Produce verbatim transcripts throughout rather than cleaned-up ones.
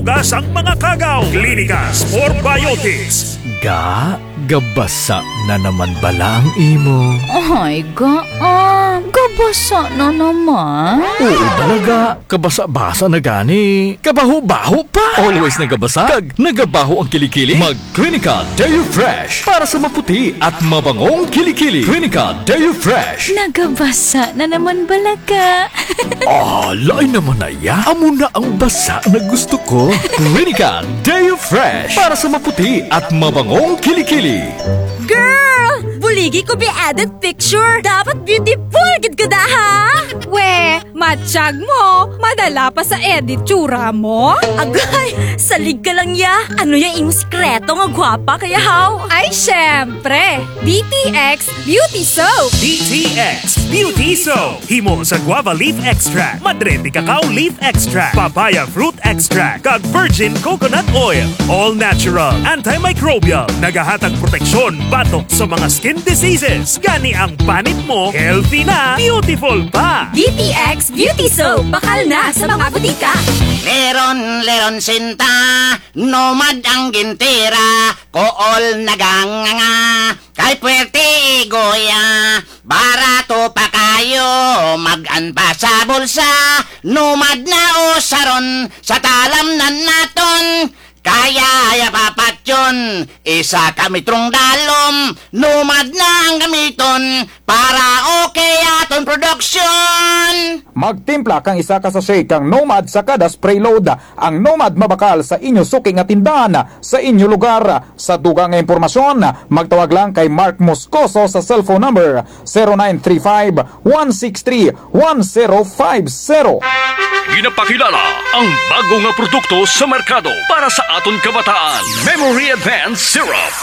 Basang mga kagaw, Klinika Spore Biotics. Ga, gabasa na naman bala ang imo? Ay, ga, ah, gabasa na naman. Oo, bala ga, kabasa-basa na gani. Kabaho-baho pa. Always nagabasa, kag nagabaho ang kilikili. Mag Klinika Deo Fresh para sa maputi at mabangong kilikili. Klinika Deo Fresh. Nagabasa na naman bala ga. Ah, lain naman na ya. Amo na ang basa na gusto ko. Klinika Deo Fresh para sa maputi at mabangong kilikili. Girl! Buligi ko bi edit picture. Dapat beautiful gid ka da, ha? We, matyag mo, madala pa sa edit tsura mo? Agay, salig ka lang ya. Ano ya imo sikreto nga gwapa ka ya, haw? Ay, syempre, D T X Beauty Soap. D T X Beauty Soap. Himo sa guava leaf extract, madre de cacao leaf extract, papaya fruit extract, kag virgin coconut oil. All natural, antimicrobial, nagahatag proteksyon batok sa mga skin diseases. Gani ang panit mo, healthy na, beautiful pa. D T X Beauty Soap, bakal na sa mga butika. Leron, leron sinta, Nomad ang gintira, kool naganganga, kay puwerte igoya, barato pa kayo, mag-an pa sa bulsa, Nomad na usaron, sa talamnan naton, kaya ya papatyon, isa ka metrong dalom, Nomad na ang gamiton, para okay aton produksyon. Magtimpla kang isa ka sachet kang Nomad sa kada spray load. Ang Nomad mabakal sa inyo suki nga tindahan, sa inyo lugar. Sa dugang nga impormasyon, magtawag lang kay Mark Moscoso sa cellphone number zero nine three five, one six three, one zero five zero. Ginapakilala ang bago nga produkto sa merkado para sa aton kabataan, Memory Advance Syrup.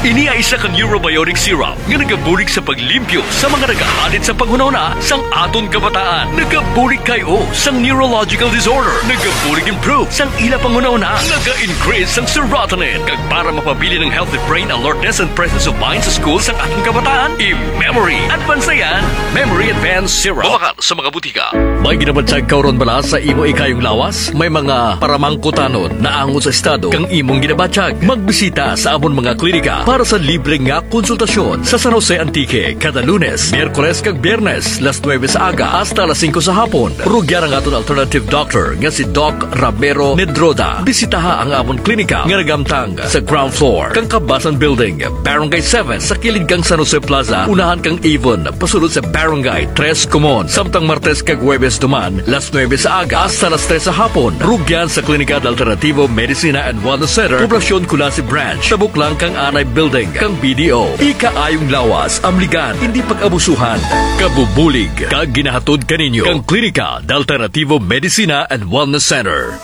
Ini ay isa ka neurobiotic syrup nga nagabulig sa paglimpyo sa mga nagahalit sa panghunahuna sang aton kabataan. Nagabulig kay-o sang neurological disorder. Nagabulig improve sang ila panghunahuna. Naga-increase sang serotonin. Kag para mapabilin ang healthy brain alertness and presence of mind sa school sang aton kabataan, i-memory advance na yan. Memory Advance Syrup. Mabakal sa mga butika. May ginabatyag ka run bala sa imo ikayong lawas? May mga paramangkutanon naangot sa estado kang imong ginabatyag? Magbisita sa amon mga klinika para sa libre nga konsultasyon sa San Jose, Antique, kada Lunes, Miyerkules kag Biyernes, las nuebe sa aga hasta las singko sa hapon. Rugyan ang aton alternative doctor nga si Doc Ramiro Nedroda. Bisitaha ang amon klinika nga nagamtang sa ground floor kang Kabasan Building, Barangay seven, sa kilid kang San Jose Plaza, unahan kang Avon, pasulod sa Barangay Tres Comon. Samtang Martes kag Huwebes duman, las nuebe sa aga hasta las tres sa hapon. Rugyan sa Klinika de Alternativo Medicina and Wellness Center, Poblacion Culasi Branch, tabok lang kang Anay Building, kang B D O. Ikaayong lawas, amligan, indi pag-abusuhan. Kabubulig, kag ginahatod kaninyo kang Klinika de Alternativo Medicina and Wellness Center.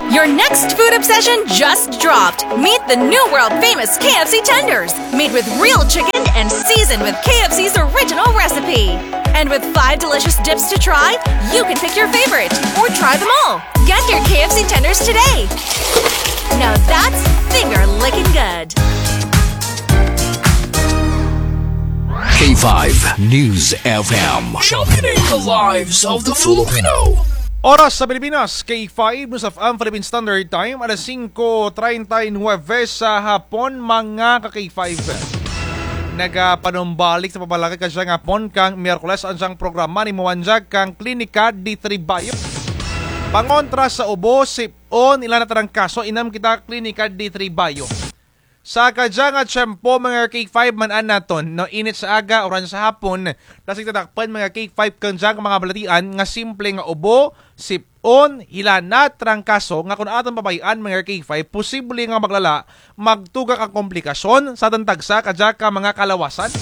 Your next food obsession just dropped. Meet the new world famous K F C tenders, made with real chicken and seasoned with K F C's original recipe. And with five delicious dips to try, you can pick your favorite or try them all. Get your K F C tenders today. Now that's finger licking good. K five News F M, championing the lives of the Filipino. Oras sa Pilipinas, K five News F M Philippine Standard Time, alas singko treinta y nueve sa hapon, mga ka-K five. Nagapanumbalik sa pamalakat kadya nga hapon kang Miyerkules ang dyang programa ni Muwanjag kang Klinika D three Bayo. Pangontra sa ubo, sip-on, ila na trangkaso, inam kita Klinika D three Bayo. Sa kadya nga tiyempo, mga K five, man-an naton, no, init sa aga, uran sa hapon, dasig ta dakpan, mga K five, kang dyang mga balatian nga simple nga ubo, sip-on, hilanat, trangkaso, nga kon aton pabay-an, mga K five, posible nga maglala, magtugak ang komplikasyon sa aton tagsa kadya ka mga kalawasan.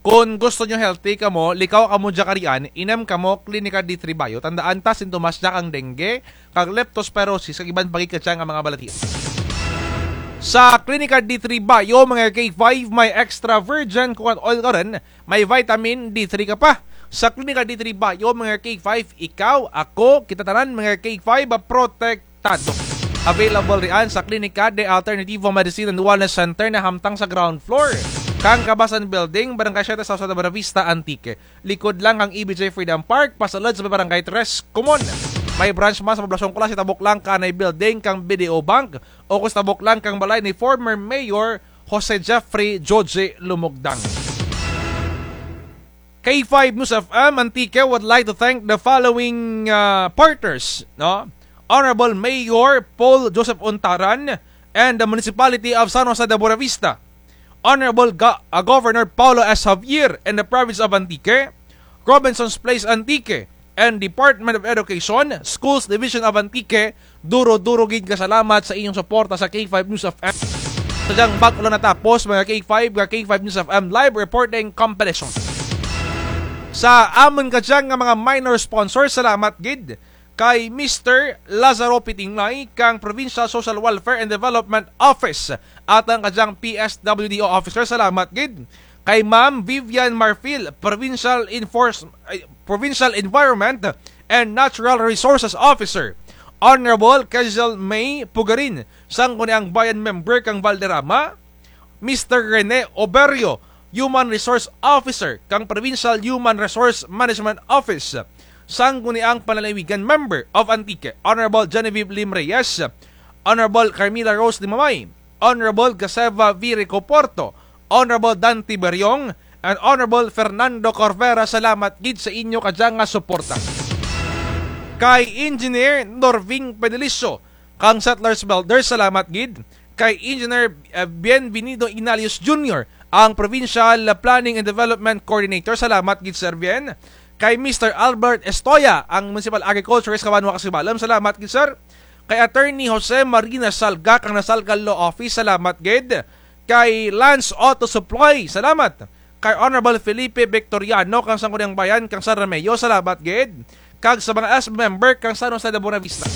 Kon gusto nyo healthy kamo, likaw kamo dya karian, inam kamo Klinika D three Bayo. Tandaan ta, sintomas dya kang dengue, kag leptospirosis, kag iban pa gid kadya nga mga balatian. Sa Klinika D three Bayo, mga K five, may extra virgin coconut oil ka run, may vitamin D three ka pa. Sa Klinika D three Bayo, mga K five, ikaw, ako, kita tanan, mga K five, protect tado. Available rian sa Klinika de Alternativo Medicine and Wellness Center na hamtang sa ground floor. kang Kabasan Building, Barangay Siete, San Jose de Buenavista, Antique. Likod lang kang E B J Freedom Park, pasulod sa Barangay Tres, Comon. May branch man sa Poblacion Culasi, tabok lang kanay building kang B D O Bank, ukon sa tabok lang kang balay ni former Mayor Jose Jeffrey Joje Lumogdang. K five News F M Antique would like to thank the following, uh, partners, no? Honorable Mayor Paul Joseph Untaran and the Municipality of San Jose de Buenavista, Honorable Ga-, uh, Governor Paolo S. Javier and the Province of Antique, Robinson's Place Antique, and Department of Education, Schools Division of Antique, duro-duro gid nga salamat sa inyong suporta sa K five News F M. Sa dyang bag-o lang natapos, mga K five, nga K five News F M live reporting compilation. Sa amun kadyang nga mga minor sponsors, salamat gid kay Mister Lazaro Pitinglay kang Provincial Social Welfare and Development Office. Atun kadyang P S W D O officer, salamat gid. Kay Ma'am Vivian Marfil, Provincial Enforce-, ay, Provincial Environment and Natural Resources Officer. Honorable Quezal May Pugarin, Sangguniang Bayan member kang Valderrama. Mister Rene Oberio, Human Resource Officer kang Provincial Human Resource Management Office, Sangguniang Panlalawigan member of Antique. Honorable Genevieve Lim Reyes, Honorable Carmila Rose Limamay, Honorable Gaseva V. Ricoporto, Honorable Dante Beriong, and Honorable Fernando Corvera, salamat gid sa inyo kadyang nga suporta. Kay Engineer Norving Pedilicio, kang Settlers Builder, salamat gid. Kay Engineer, eh, Bienvenido Ignalius Junior, ang Provincial Planning and Development Coordinator, salamat gid, Sir Bien. Kay Mister Albert Estoya, ang Municipal Agriculturist kang banwa kang Sibalom, salamat gid, sir. Kay Attorney Jose Marina Salga, kang Nasalga Law Office, salamat gid. Kay Lance Auto Supply, salamat. Kay Honorable Felipe Victoriano, kang Sangguniang Bayan kang San Remigio, salamat gid. Kag sa mga S B member kang San Jose de Buenavista.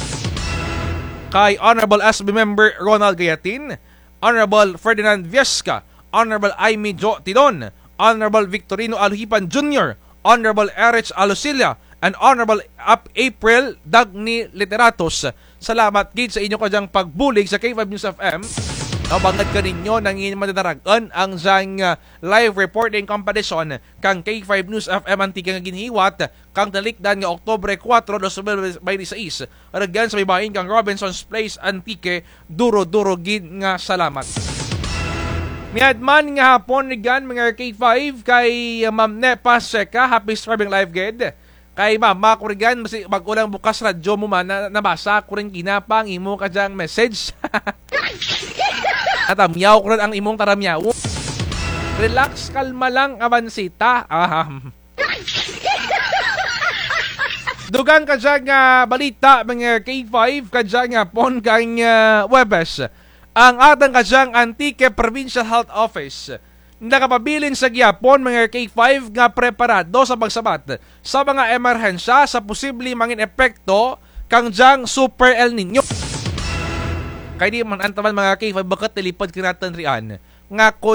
Kay Honorable S B member Ronald Gayatin, Honorable Ferdinand Viesca, Honorable Aimee Jo Tidon, Honorable Victorino Alojipan Junior, Honorable Erich Alosilla, and Honorable Ap-, April Dagny Literatos. Salamat gid sa inyo kadyang pagbulig sa K five News F M. No, bangud kaninyo, nangin madadarag-an ang dyang, ah, live reporting competition kang K five News F M Antique nga ginhiwat kang talikdan nga Oktubre kuwatro, dos mil baynte sais, rugyan sa may bahin kang Robinson's Place, Antique. Duro-duro gid nga salamat. Mayad man nga hapon rugyan, mga K five, kay Ma'am Nepa Seca, happy streaming live gid. Kay mama ko rugyan, basi bag-o lang bukas radyo mo man, na-, nabasa ko run ginapa ang imo kadyang message. Natamyaw ko run ang imong taramyaw. Relax, kalma lang, Avancita. Ah, dugang kadyang, ah, balita, mga K five, kadyang hapon kang, ah, Huwebes. Ang atun kadyang Antique Provincial Health Office nakapabilin sa gihapon, mga K five, nga preparado sa pagsabat sa mga emerhensya sa posible mangin epekto kang dyang Super El Niño. Kay di man antaman, mga K five, bukut ti lipud kanatun rian nga kon